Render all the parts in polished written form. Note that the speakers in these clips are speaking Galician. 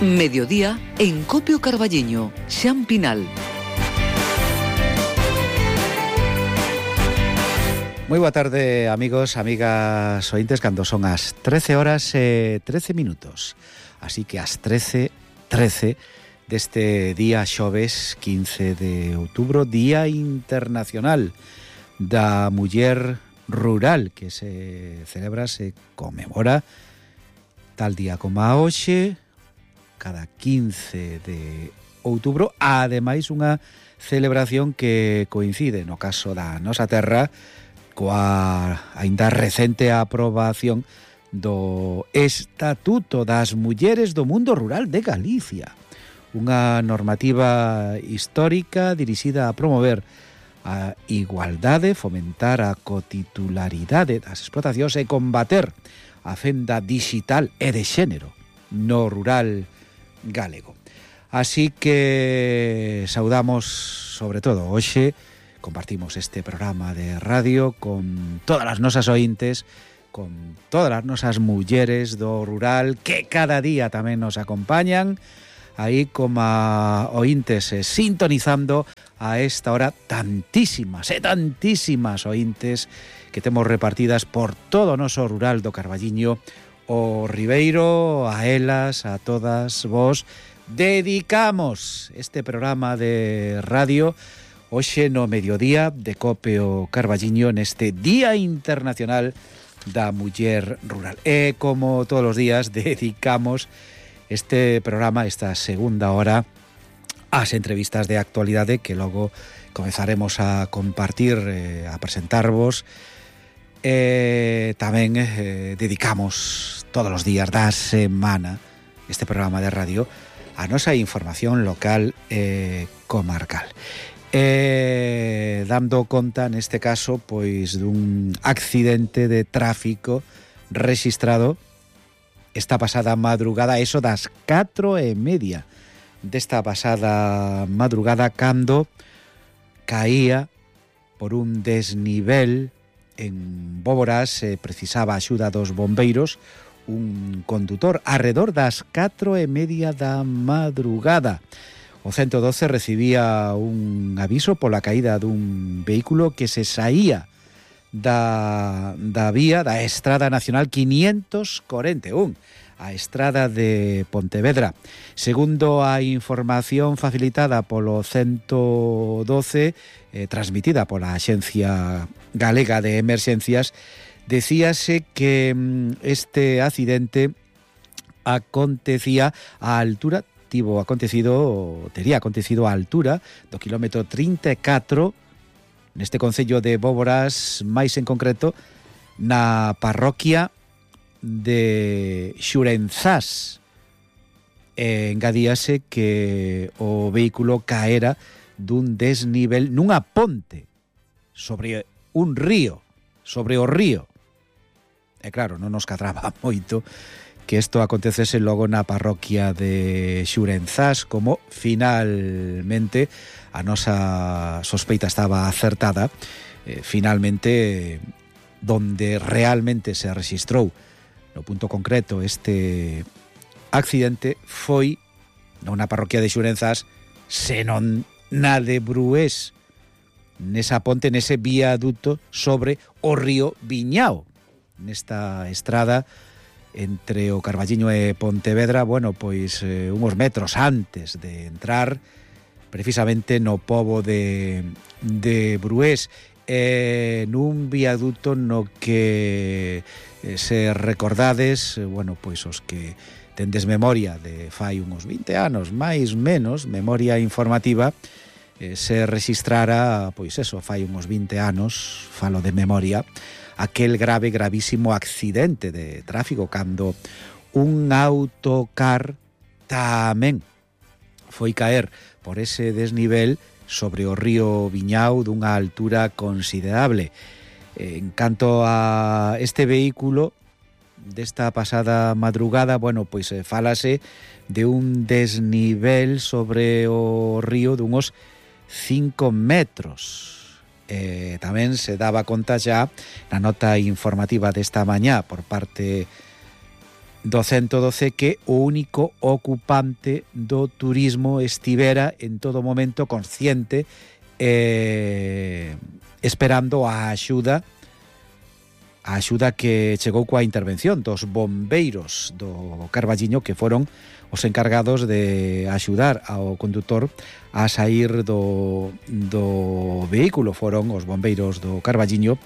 Mediodía en Copio Carballiño, Xan Pinal. Moi boa tarde, amigos, amigas ointes, cando son as 13 horas e 13 minutos. Así que as 13:13 deste día xoves 15 de outubro, Día Internacional da Muller Rural, que se celebra, se conmemora tal día como a hoxe, cada 15 de outubro, ademais unha celebración que coincide, no caso da nosa terra, coa aínda recente aprobación do Estatuto das Mulleres do Mundo Rural de Galicia, unha normativa histórica dirixida a promover a igualdade, fomentar a cotitularidade das explotacións e combater a fenda digital e de xénero no rural galego. Así que saudamos, sobre todo hoxe, compartimos este programa de radio con todas as nosas ointes, con todas as nosas mulleres do rural que cada día tamén nos acompañan, aí como ointes sintonizando a esta hora tantísimas ointes que temos repartidas por todo o noso rural do Carballiño, o Ribeiro. A elas, a todas vos, dedicamos este programa de radio hoxe no mediodía de Copio Carballiño, neste Día Internacional da Muller Rural. E como todos os días dedicamos este programa, esta segunda hora, ás entrevistas de actualidade que logo comezaremos a compartir, a presentarvos. Tamén dedicamos todos os días da semana este programa de radio a nosa información local e comarcal. Dando conta neste caso pois dun accidente de tráfico rexistrado esta pasada madrugada, eso das 4:30 desta pasada madrugada, cando caía por un desnivel en Bóboras, precisaba axuda dos bombeiros un condutor arredor das 4:30 da madrugada. O 112 recibía un aviso pola caída dun vehículo que se saía da vía da Estrada Nacional 541, a Estrada de Pontevedra. Segundo a información facilitada polo 112, transmitida pola Axencia Galega de Emerxencias, decíase que este accidente acontecía á altura, tería acontecido á altura do kilómetro 34 neste concello de Bóboras, máis en concreto na parroquia de Xurenzás. Engadíase que o vehículo caera dun desnivel nunha ponte sobre un río, sobre o río. E claro, non nos cadraba moito que isto acontecese logo na parroquia de Xurenzás, como finalmente a nosa sospeita estaba acertada. Finalmente, donde realmente se rexistrou no punto concreto este accidente foi non na parroquia de Xurenzás, senón na de Brués, nesa ponte, nese viaduto sobre o río Viñao, nesta estrada entre o Carballiño e Pontevedra, bueno, pois uns metros antes de entrar precisamente no pobo de Brués, nun viaduto no que se recordades, bueno, pois os que tendes memoria de fai uns 20 anos, máis menos, memoria informativa, se rexistrara, pois eso, fai uns 20 anos, falo de memoria, aquel gravísimo accidente de tráfico cando un autocar tamén foi caer por ese desnivel sobre o río Viñao dunha altura considerable. En canto a este vehículo desta pasada madrugada, bueno, pois fálase de un desnivel sobre o río dunhos 5 metros. Tamén se daba conta xa na nota informativa desta mañá por parte do 112 que o único ocupante do turismo estivera en todo momento consciente esperando a axuda que chegou coa intervención dos bombeiros do Carballiño, que foron os encargados de axudar ao condutor a sair do vehículo. Foron os bombeiros do Carballiño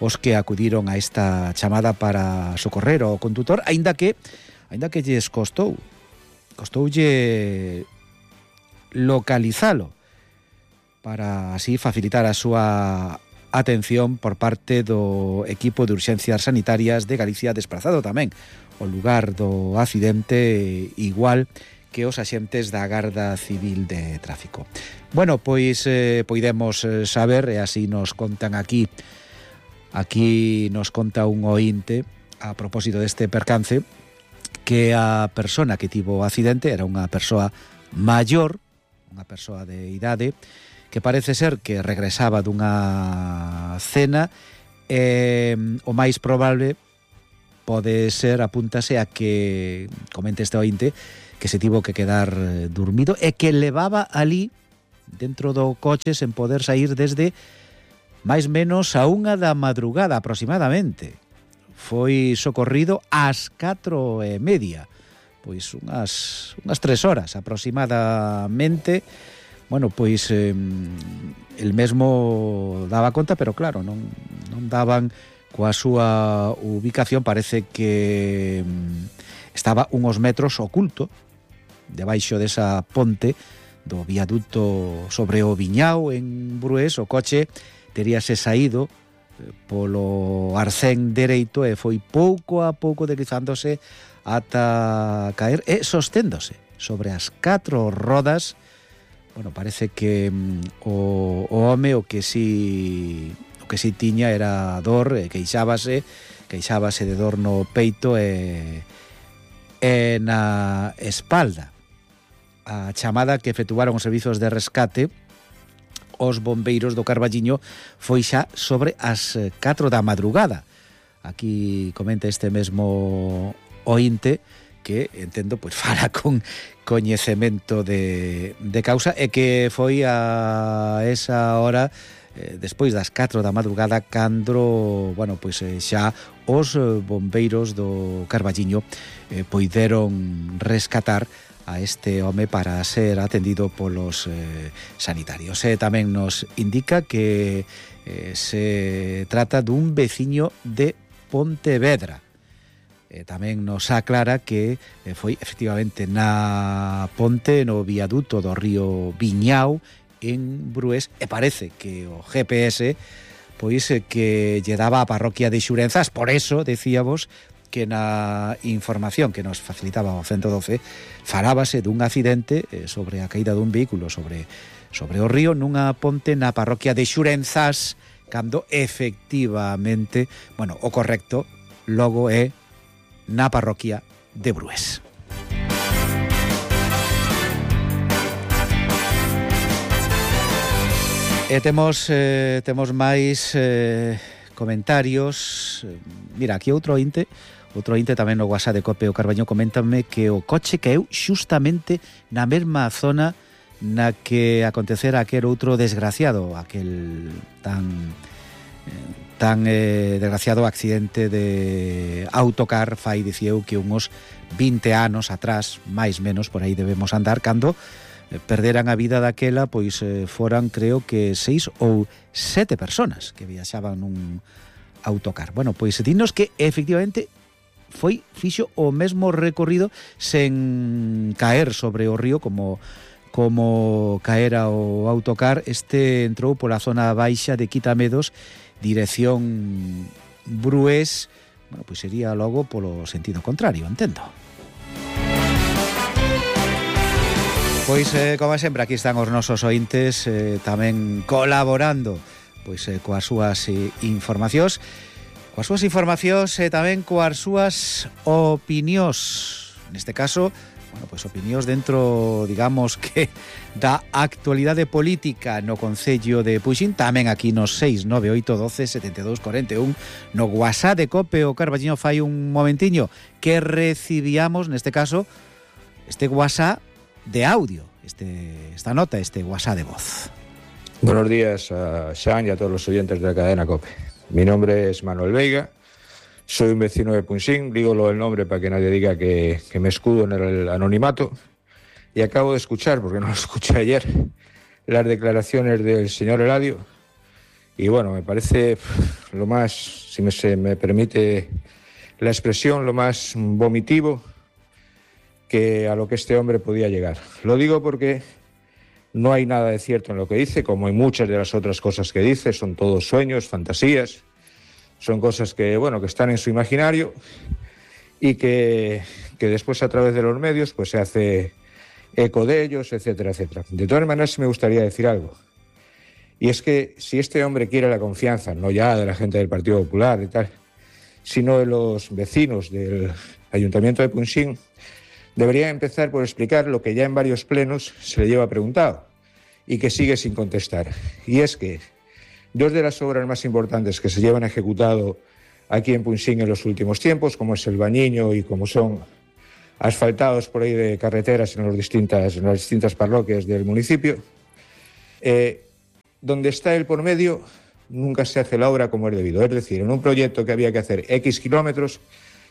os que acudiron a esta chamada para socorrer ao condutor, aínda que lles costoulle localizalo para así facilitar a súa atención por parte do equipo de urxencias sanitarias de Galicia, desplazado tamén ao lugar do accidente, igual que os axentes da Garda Civil de Tráfico. Bueno, pois poidemos saber, e así nos contan aquí nos conta un oínte a propósito deste percance, que a persona que tivo o accidente era unha persoa maior, unha persoa de idade, que parece ser que regresaba dunha cena, o máis probable pode ser, apúntase a que, comente este oínte, que se tivo que quedar dormido e que levaba ali dentro do coche sen poder sair desde máis menos a 1 da madrugada aproximadamente. Foi socorrido ás 4:30, pois unhas 3 horas aproximadamente. Bueno, pois el mesmo daba conta, pero claro, non daban coa súa ubicación. Parece que estaba unos metros oculto debaixo desa ponte do viaduto sobre o Viñao en Brués. O coche teríase saído polo arcén dereito e foi pouco a pouco deslizándose ata caer e sosténdose sobre as 4 rodas. Bueno, parece que o home o que si tiña era dor, e queixábase de dor no peito e na espalda. A chamada que efectuaron os servizos de rescate os bombeiros do Carballiño foi xa sobre as 4 da madrugada. Aquí comenta este mesmo oínte que, entendo, pois fala con coñecemento de causa, e que foi a esa hora, despois das 4 da madrugada, cando, bueno, pois xa os bombeiros do Carballiño poideron rescatar a este home para ser atendido polos sanitarios. E tamén nos indica que se trata dun veciño de Pontevedra. Tamén nos aclara que foi efectivamente na ponte, no viaduto do río Viñao en Brués, e parece que o GPS pois que lle daba a parroquia de Xurenzas. Por eso decíamos que na información que nos facilitaba o 112 falábase dun accidente sobre a caída dun vehículo sobre o río nunha ponte na parroquia de Xurenzas, cando efectivamente, bueno, o correcto logo é na parroquia de Brués. E temos máis comentarios. Mira, aquí outro oínte tamén no WhatsApp de Cope o Carballiño, coméntame que o coche caeu xustamente na mesma zona na que acontecera aquel outro desgraciado, aquel tan desgraciado accidente de autocar, fai, dicía eu, que uns 20 anos atrás, máis menos, por aí debemos andar, cando perderan a vida daquela, pois foran, creo que 6 ou 7 personas que viaxaban nun autocar. Bueno, pois dinos que efectivamente fixo o mesmo recorrido sen caer sobre o río como caera o autocar. Este entrou pola zona baixa de Quitamedos, dirección Brués. Bueno, pois sería logo polo sentido contrario, entendo. Pois, como sempre, aquí están os nosos oíntes tamén colaborando pois coas súas informacións e tamén coas súas opinións. neste caso, bueno, pois opinións dentro, digamos, que da actualidade política no Concello de Punxín, tamén aquí nos 698127241, no WhatsApp de Cope o Carballiño fai un momentiño que recibíamos, neste caso, este WhatsApp de audio, esta nota, este WhatsApp de voz. Buenos días a Xan y a todos los oyentes de la cadena COPE. Mi nombre es Manuel Veiga, soy un vecino de Punxín, dígolo el nombre para que nadie diga que me escudo en el anonimato, y acabo de escuchar, porque no lo escuché ayer, las declaraciones del señor Eladio, y bueno, me parece lo más, si se me permite la expresión, lo más vomitivo que a lo que este hombre podía llegar. Lo digo porque no hay nada de cierto en lo que dice, como en muchas de las otras cosas que dice, son todos sueños, fantasías, son cosas que, bueno, que están en su imaginario y que después a través de los medios pues se hace eco de ellos, etcétera, etcétera. De todas maneras, me gustaría decir algo, y es que si este hombre quiere la confianza, no ya de la gente del Partido Popular y tal, sino de los vecinos del Ayuntamiento de Punxín, debería empezar por explicar lo que ya en varios plenos se le lleva preguntado y que sigue sin contestar. Y es que dos de las obras más importantes que se llevan ejecutado aquí en Punxín en los últimos tiempos, como es el Bañiño y como son asfaltados por ahí de carreteras en las distintas parroquias del municipio, donde está el por medio nunca se hace la obra como es debido. Es decir, en un proyecto que había que hacer X kilómetros,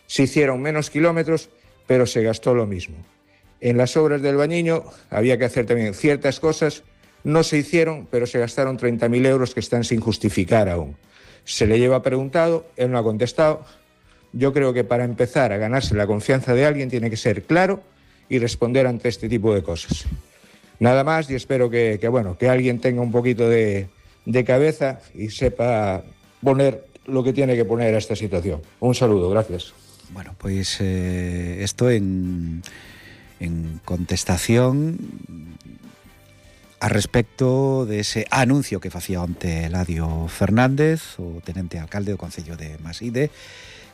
se hicieron menos kilómetros, pero se gastó lo mismo. En las obras del Bañiño había que hacer también ciertas cosas, no se hicieron, pero se gastaron 30.000 euros que están sin justificar aún. Se le lleva preguntado, él no ha contestado. Yo creo que para empezar a ganarse la confianza de alguien tiene que ser claro y responder ante este tipo de cosas. Nada más, y espero que alguien tenga un poquito de cabeza y sepa poner lo que tiene que poner a esta situación. Un saludo, gracias. Bueno, pois isto en contestación a respecto de ese anuncio que facía onte Eladio Fernández, o tenente alcalde do Concello de Maside,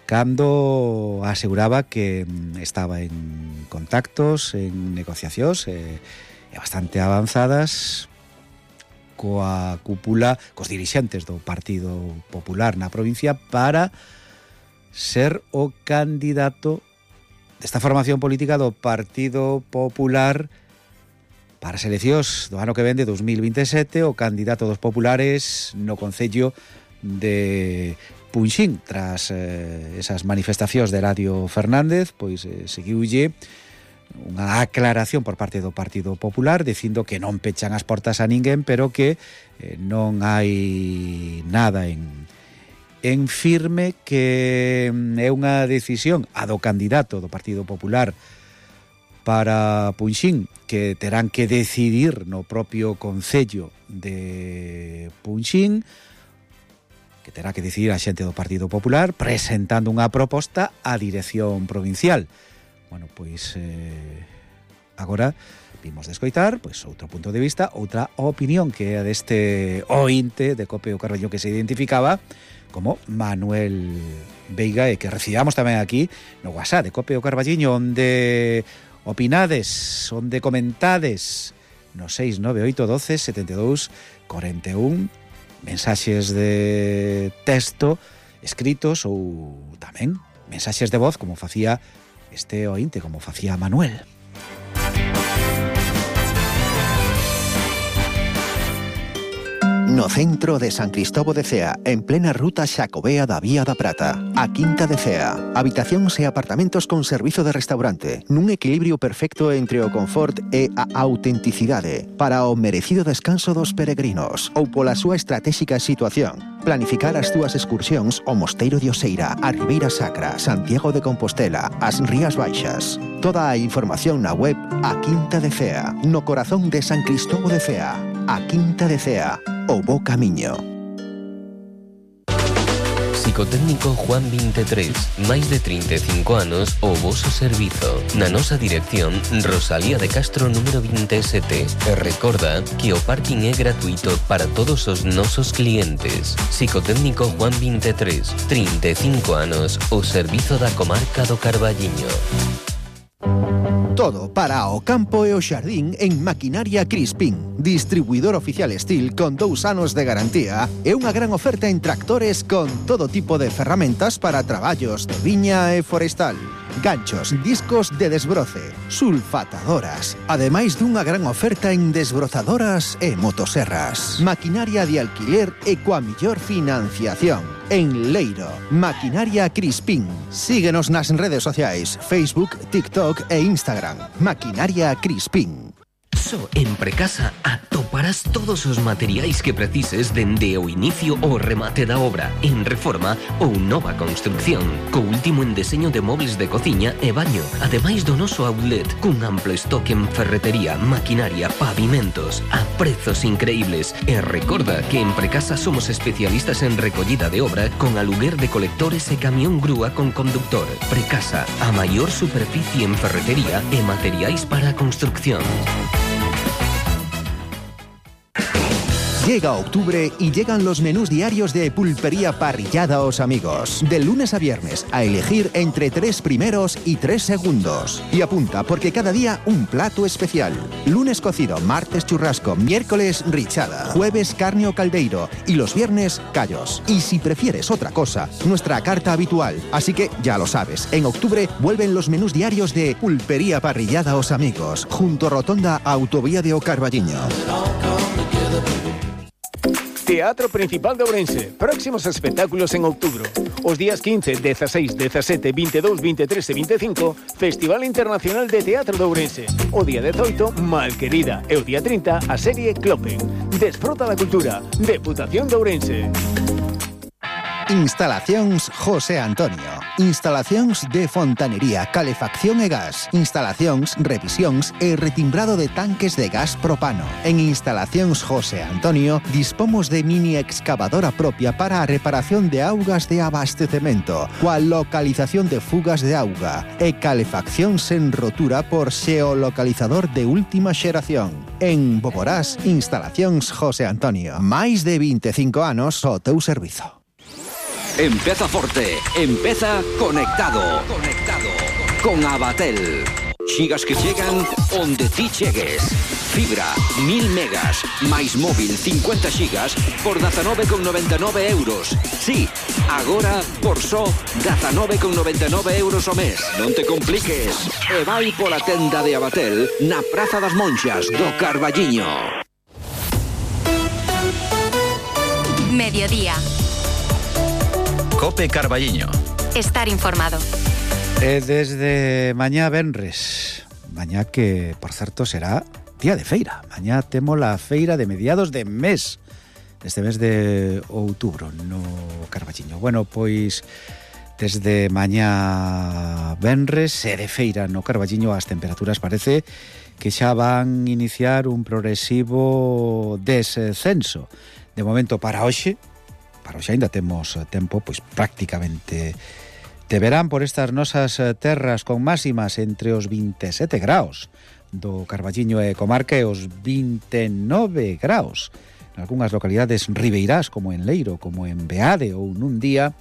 cando aseguraba que estaba en contactos, en negociacións bastante avanzadas coa cúpula, cos dirixentes do Partido Popular na provincia para ser o candidato desta formación política do Partido Popular para as eleccións do ano que vende, 2027, o candidato dos populares no Concello de Punxín. Tras esas manifestacións de Eladio Fernández, pois seguiulle unha aclaración por parte do Partido Popular dicindo que non pechan as portas a ninguén, pero que non hai nada en firme, que é unha decisión a do candidato do Partido Popular para Punxín, que terán que decidir no propio Concello de Punxín, que terá que decidir a xente do Partido Popular presentando unha proposta á dirección provincial. Bueno, pois agora vimos de escoitar pois outro punto de vista, outra opinión, que é a deste ointe de Cope o Carballiño que se identificaba como Manuel Veiga, e que recibamos tamén aquí no WhatsApp de Cope o Carballiño, onde opinades, onde comentades no 698127241, mensaxes de texto escritos ou tamén mensaxes de voz, como facía este ointe, como facía Manuel. No centro de San Cristóbal de Cea, en plena ruta Xacobea da Vía da Prata, a Quinta de Cea. Habitacións e apartamentos con servizo de restaurante, nun equilibrio perfecto entre o confort e a autenticidade, para o merecido descanso dos peregrinos, ou pola súa estratégica situación. Planificar as túas excursións ao Mosteiro de Oseira, a Ribeira Sacra, Santiago de Compostela, as Rías Baixas. Toda a información na web A Quinta de Cea, no corazón de San Cristóbal de Cea. A Quinta de Cea, o bo camiño. Psicotécnico Juan 23, máis de 35 anos o voso servizo. Na nosa dirección, Rosalía de Castro número 27. E recorda que o parking é gratuito para todos os nosos clientes. Psicotécnico Juan 23, 35 anos o servizo da comarca do Carballiño. Todo para o campo e o xardín en Maquinaria Crispín. Distribuidor oficial Steel con 2 anos de garantía e unha gran oferta en tractores con todo tipo de ferramentas para traballos de viña e forestal. Ganchos, discos de desbroce, sulfatadoras. Ademais dunha gran oferta en desbrozadoras e motoserras. Maquinaria de alquiler e coa mellor financiación. En Leiro, Maquinaria Crispín. Síguenos nas redes sociais, Facebook, TikTok e Instagram. Maquinaria Crispín. Só en Precasa atoparás todos os materiais que precises dende o inicio ao remate da obra, en reforma ou nova construcción, co último en deseño de mobles de cociña e baño, ademais do noso outlet, cun amplo estoque en ferretería, maquinaria, pavimentos, a prezos increíbles. E recorda que en Precasa somos especialistas en recollida de obra con aluguer de colectores e camión grúa con conductor. Precasa, a maior superficie en ferretería e materiais para a construcción. Llega octubre y llegan los menús diarios de Pulpería Parrillada Os Amigos. De lunes a viernes, a elegir entre 3 primeros y 3 segundos. Y apunta, porque cada día un plato especial. Lunes cocido, martes churrasco, miércoles richada, jueves carne o caldeiro y los viernes callos. Y si prefieres otra cosa, nuestra carta habitual. Así que ya lo sabes, en octubre vuelven los menús diarios de Pulpería Parrillada Os Amigos, junto a Rotonda Autovía de O Carballiño. Teatro Principal de Ourense. Próximos espectáculos en outubro. Os días 15, 16, 17, 22, 23 e 25, Festival Internacional de Teatro de Ourense. O día 18, Malquerida. E o día 30, a serie Clopen. Desfruta da cultura. Deputación de Ourense. Instalacións José Antonio. Instalacións de fontanería, calefacción e gas. Instalacións, revisións e retimbrado de tanques de gas propano. En Instalacións José Antonio dispomos de mini excavadora propia para a reparación de augas de abastecemento, coa localización de fugas de auga e calefacción sen rotura por xeolocalizador de última xeración. En Boborás, Instalacións José Antonio. Máis de 25 anos ao teu servizo. Empeza forte, empeza conectado. Con Abatel. Xigas que chegan onde ti chegues. Fibra, 1000 megas, máis móvil 50 xigas por 19,99 euros. Sí, agora por só 19,99 euros ao mes. Non te compliques. E vai pola tenda de Abatel na Praza das Monxas do Carballiño. Mediodía. Cope Carballiño. Estar informado. Desde mañá venres, mañá que, por certo, será día de feira. Mañá temos a feira de mediados de mes, este mes de outubro no Carballiño. Bueno, pois desde mañá venres e de feira no Carballiño as temperaturas parece que xa van iniciar un progresivo descenso. De momento para hoxe ainda temos tempo pois prácticamente de verán por estas nosas terras con máximas entre os 27 graus do Carballiño e comarca e os 29 graus en algunhas localidades ribeirás como en Leiro, como en Beade ou nun día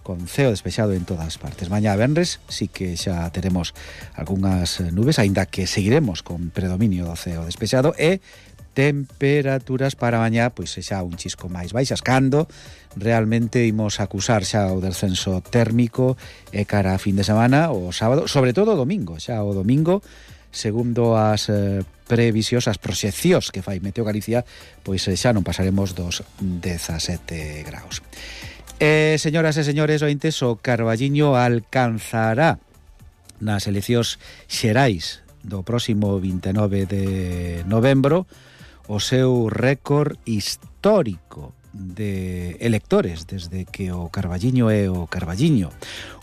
con ceo despexado en todas partes. Mañá venres sí que xa teremos algunhas nubes, aínda que seguiremos con predominio do ceo despexado e temperaturas para mañá pois xa un chisco máis baixas cando realmente imos acusar xa o descenso térmico e cara a fin de semana o sábado, sobre todo o domingo. Xa o domingo, segundo as previsións, as proxeccións que fai Meteo Galicia, pois xa non pasaremos dos 17 graus. Señoras e señores ointes, o Carballiño alcanzará nas eleccións xerais do próximo 29 de novembro o seu récord histórico de electores desde que o Carballiño é o Carballiño.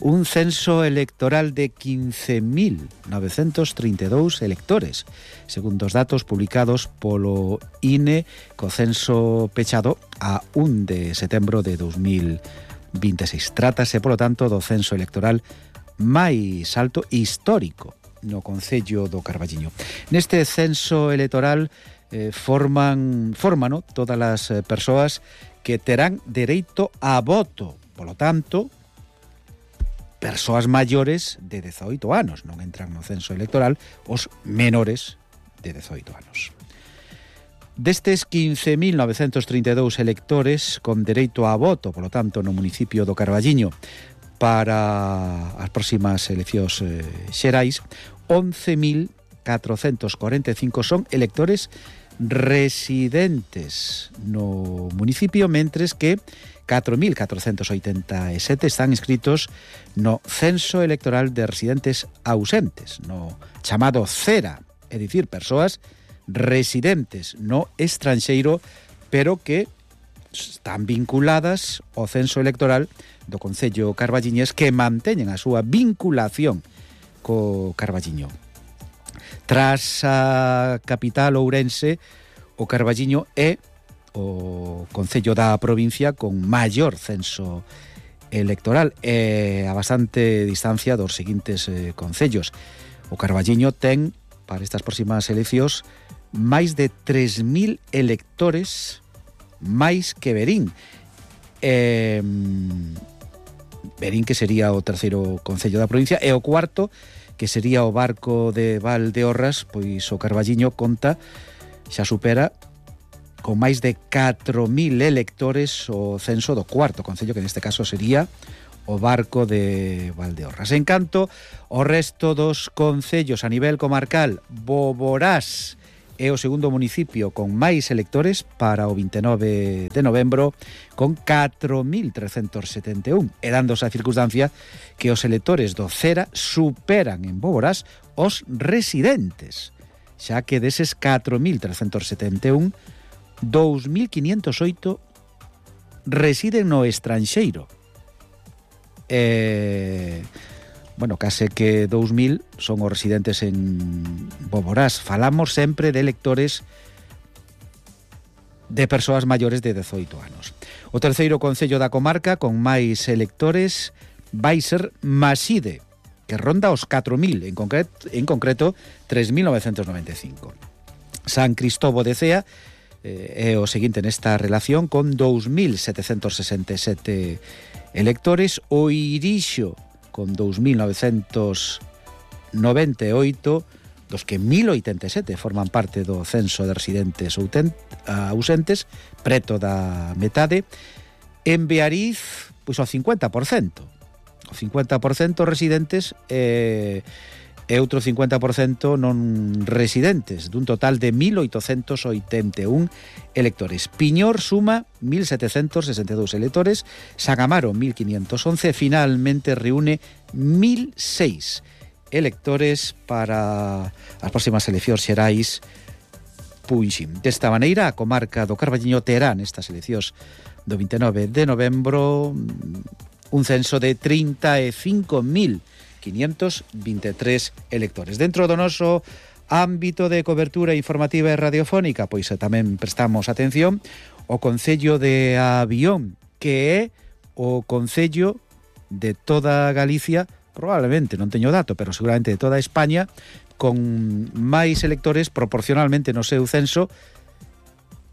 Un censo electoral de 15.932 electores, segundo os datos publicados polo INE co censo pechado a 1 de setembro de 2026. Trátase, polo tanto, do censo electoral máis alto histórico no concello do Carballiño. Neste censo electoral fórmano todas as persoas que terán dereito a voto. Polo tanto, persoas maiores de 18 anos. Non entran no censo electoral os menores de 18 anos. Destes 15.932 electores con dereito a voto, polo tanto, no municipio do Carballiño para as próximas eleccións xerais, 11.445 son electores residentes no municipio, mentres que 4.487 están inscritos no censo electoral de residentes ausentes, no chamado CERA, é dicir, persoas residentes no estranxeiro, pero que están vinculadas ao censo electoral do Concello Carballiñés, que manteñen a súa vinculación co Carballiño. Tras a capital Ourense, o Carballiño é o concello da provincia con maior censo electoral, a bastante distancia dos seguintes concellos. O Carballiño ten, para estas próximas eleccións, máis de 3.000 electores máis que Verín. Verín, que sería o terceiro concello da provincia, e o cuarto, que sería o Barco de Valdeorras, pois o Carballiño conta, xa supera con máis de 4.000 electores o censo do cuarto concello, que neste caso sería o Barco de Valdeorras. En canto o resto dos concellos a nivel comarcal, Boborás é o segundo municipio con máis electores para o 29 de novembro, con 4.371, e dándose a circunstancia que os electores do CERA superan en Boborás os residentes, xa que deses 4.371, 2.508 residen no estranxeiro. Bueno, case que 2.000 son os residentes en Boborás. Falamos sempre de electores de persoas maiores de 18 anos. O terceiro concello da comarca con máis electores vai ser Maside, que ronda os 4.000, en concreto 3.995. San Cristóbal de Cea é o seguinte nesta relación, con 2.767 electores. O Irixo con 2.998, dos que 1.087 forman parte do censo de residentes ausentes, preto da metade. En Beariz, pois o 50%. O 50% residentes e outro 50% non residentes, dun total de 1.881 electores. Piñor suma 1.762 electores, San Amaro 1.511, finalmente reúne 1.006 electores para as próximas eleccións xerais Punxín. Desta maneira, a comarca do Carballiño terá nestas eleccións do 29 de novembro un censo de 35.523 electores. Dentro do noso ámbito de cobertura informativa e radiofónica, pois tamén prestamos atención ao concello de Avión, que é o concello de toda Galicia, probablemente, non teño dato, pero seguramente de toda España, con máis electores proporcionalmente no seu censo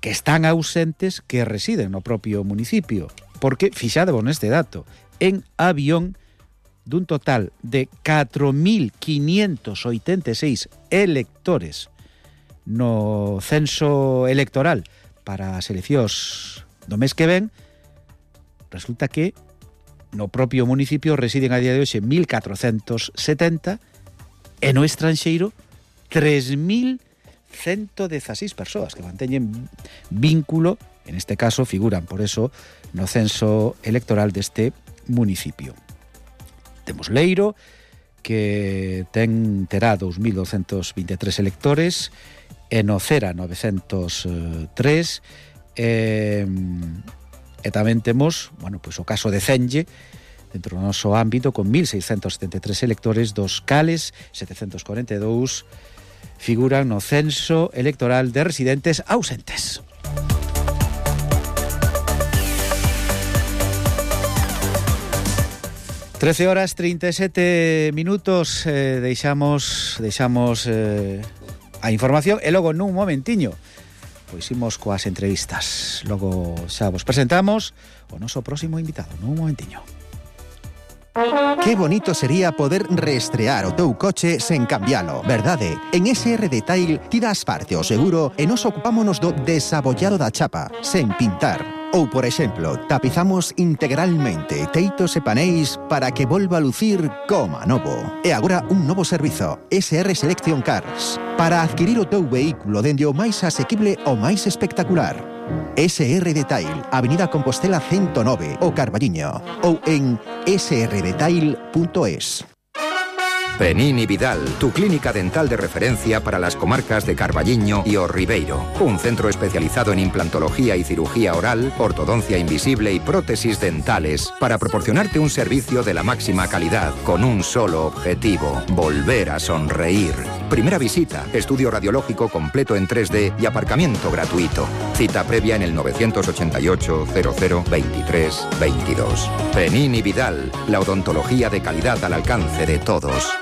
que están ausentes que residen no propio municipio. Porque, fixadevos neste dato, en Avión, dun total de 4.586 electores no censo electoral para as eleccións do mes que ven, resulta que no propio municipio residen a día de hoxe 1.470 e no estranxeiro 3.116 persoas que manteñen vínculo, en este caso figuran por eso no censo electoral deste municipio. Temos Leiro, que terá 2.223 electores, e no Cera 903, e tamén temos, bueno, pois o caso de Cenge, dentro do noso ámbito, con 1.673 electores, dos cales 742 figuran no censo electoral de residentes ausentes. 13 horas 37 minutos, deixamos a información e logo nun momentiño pois imos coas entrevistas. Logo xa vos presentamos o noso próximo invitado nun momentiño. Que bonito sería poder reestrear o teu coche sen cambialo, verdade? En SR Detail ti das parte ao seguro e nos ocupámonos do desabollado da chapa, sen pintar. Ou, por exemplo, tapizamos integralmente teitos e paneis para que volva a lucir como a novo. E agora un novo servizo, SR Selection Cars, para adquirir o teu vehículo dende o máis asequible ao máis espectacular. SR Detail, Avenida Compostela 109, o Carballiño, ou en srdetail.es. Penini Vidal, tu clínica dental de referencia para las comarcas de Carballiño y O Ribeiro. Un centro especializado en implantología y cirugía oral, ortodoncia invisible y prótesis dentales para proporcionarte un servicio de la máxima calidad con un solo objetivo: volver a sonreír. Primera visita, estudio radiológico completo en 3D y aparcamiento gratuito. Cita previa en el 988 00 23 22. Penini Vidal, la odontología de calidad al alcance de todos.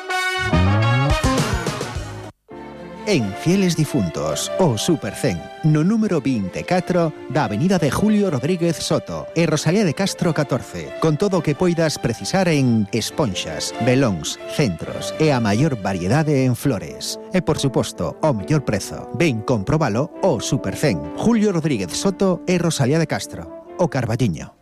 En Fieles Difuntos, o Supercen, no número 24 da Avenida de Julio Rodríguez Soto e Rosalía de Castro 14, con todo o que poidas precisar en esponxas, velóns, centros e a maior variedade en flores. E, por suposto, o mellor prezo. Ven comprobalo o Supercen, Julio Rodríguez Soto e Rosalía de Castro, o Carballiño.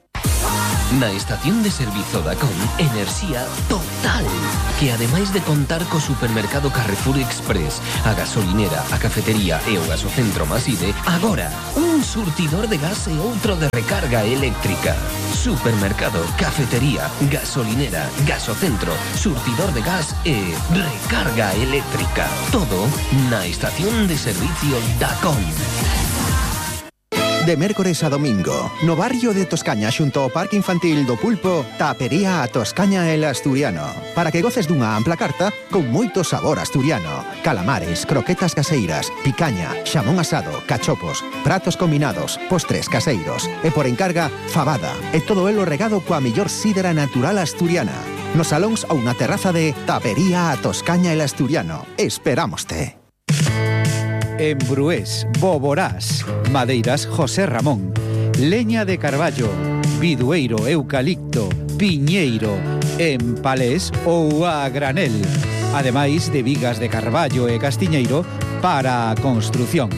Na estación de servizo Dacon, enerxía total, que ademais de contar co supermercado Carrefour Express, a gasolinera, a cafetería e o gasocentro Maside, agora un surtidor de gas e outro de recarga eléctrica. Supermercado, cafetería, gasolinera, gasocentro, surtidor de gas e recarga eléctrica. Todo na estación de servicio Dacon. De mércores a domingo, no barrio de Toscaña xunto ao Parque Infantil do Pulpo, Tapería a Toscaña el Asturiano, para que goces dunha ampla carta con moito sabor asturiano. Calamares, croquetas caseiras, picaña, xamón asado, cachopos, pratos combinados, postres caseiros e por encarga, fabada, e todo elo regado coa mellor sidra natural asturiana. Nos salóns ou na terraza de Tapería a Toscaña el Asturiano. Esperámoste. En Brués, Boborás, Madeiras José Ramón, leña de carballo, bidueiro, eucalipto, piñeiro, en palés ou a granel, ademais de vigas de carballo e castiñeiro para a construción.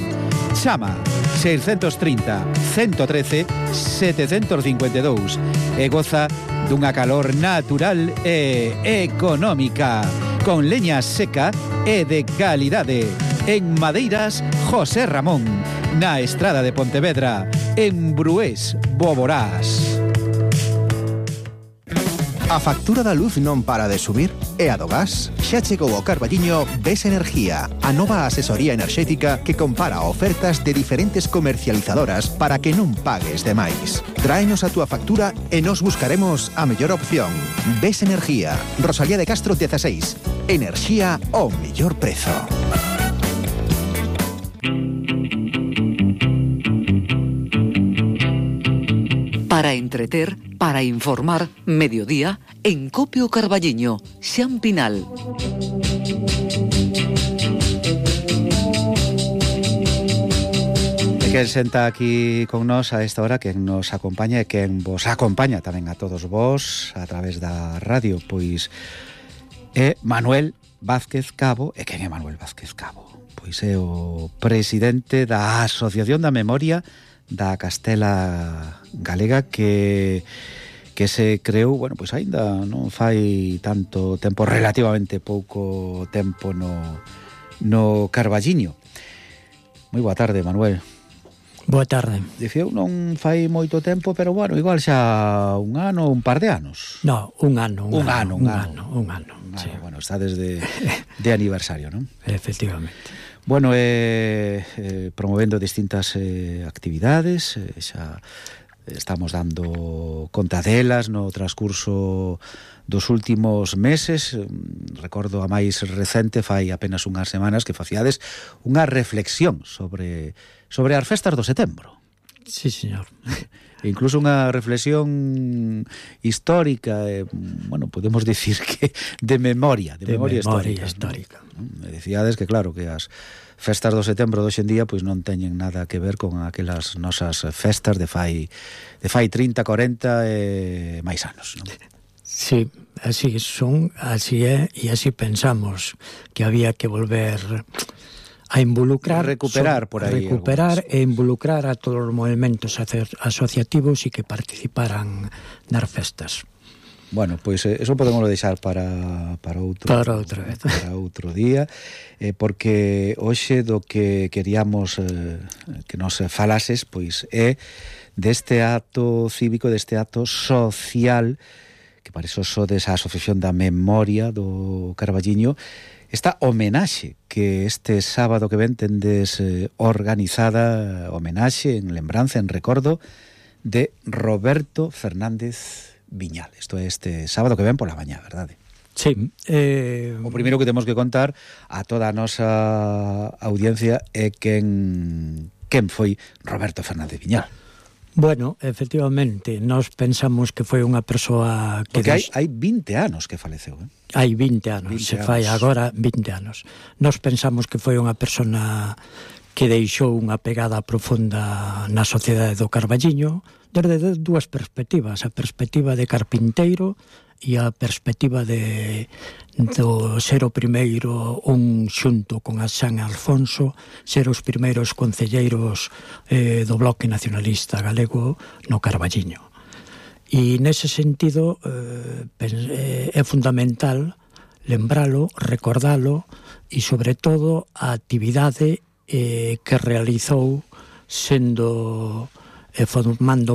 Chama 630 113 752 e goza dunha calor natural e económica, con leña seca e de calidade. En Madeiras José Ramón, na Estrada de Pontevedra, en Brués, Boborás. A factura da luz non para de subir e a do gas xa chegou ao Carballiño Ves Energía, a nova asesoría enerxética que compara ofertas de diferentes comercializadoras para que non pagues de máis. Tráenos a túa factura e nos buscaremos a mellor opción. Ves Energía, Rosalía de Castro 16. Enerxía ao mellor prezo. Para entreter, para informar, mediodía, en Copio Carballiño, Xan Pinal. Quen senta aquí con nos a esta hora, quen nos acompaña e quen vos acompaña tamén a todos vos a través da radio, pois é Manuel Vázquez Cabo. E quen é Manuel Vázquez Cabo? Pois é o presidente da Asociación da Memoria da Castela Galega que se creou, bueno, pois aínda non fai tanto tempo, relativamente pouco tempo no Carballiño. Moi boa tarde, Manuel. Boa tarde. Dicía, non fai moito tempo, pero bueno, igual xa un ano, un par de anos. No, un ano. Un ano. Sí. Bueno, está desde de aniversario, non? Efectivamente. Bueno, promovendo distintas actividades, xa estamos dando conta delas no transcurso dos últimos meses. Recordo a máis recente, fai apenas unhas semanas, que faciades unha reflexión sobre as festas do setembro. Sí, señor. Incluso unha reflexión histórica, bueno, podemos dicir que de memoria histórica. ¿No? Decíades que claro, que as festas do setembro de hoxe en día pois non teñen nada que ver con aquelas nosas festas de fai 30, 40 e máis anos, non? Sí, así son, así é, e así pensamos que había que volver a involucrar, recuperar por aí e involucrar a todos os movimentos asociativos e que participaran nas festas. Bueno, pois eso podemos deixar para outro día, porque hoxe do que queríamos que nos falases, pois é deste acto cívico, deste acto social, que para iso sodes a Asociación da Memoria do Carballiño, esta homenaxe que este sábado que ven tendes organizada, homenaxe en lembranza, en recordo de Roberto Fernández Viñal. Isto é este sábado que ven pola mañá, verdade? Sí. O primeiro que temos que contar a toda a nosa audiencia é quen foi Roberto Fernández Viñal. Bueno, efectivamente, nós pensamos que foi unha persoa que... Porque hai 20 anos que faleceu, Hai 20 anos, 20 se fai agora 20 anos. Nós pensamos que foi unha persona que deixou unha pegada profunda na sociedade do Carballiño desde dúas perspectivas, a perspectiva de carpinteiro e a perspectiva do ser o primeiro, xunto con a San Alfonso, ser os primeiros concelleiros do Bloque Nacionalista Galego no Carballiño. E nese sentido é fundamental lembralo, recordalo e sobre todo a actividade que realizou sendo formando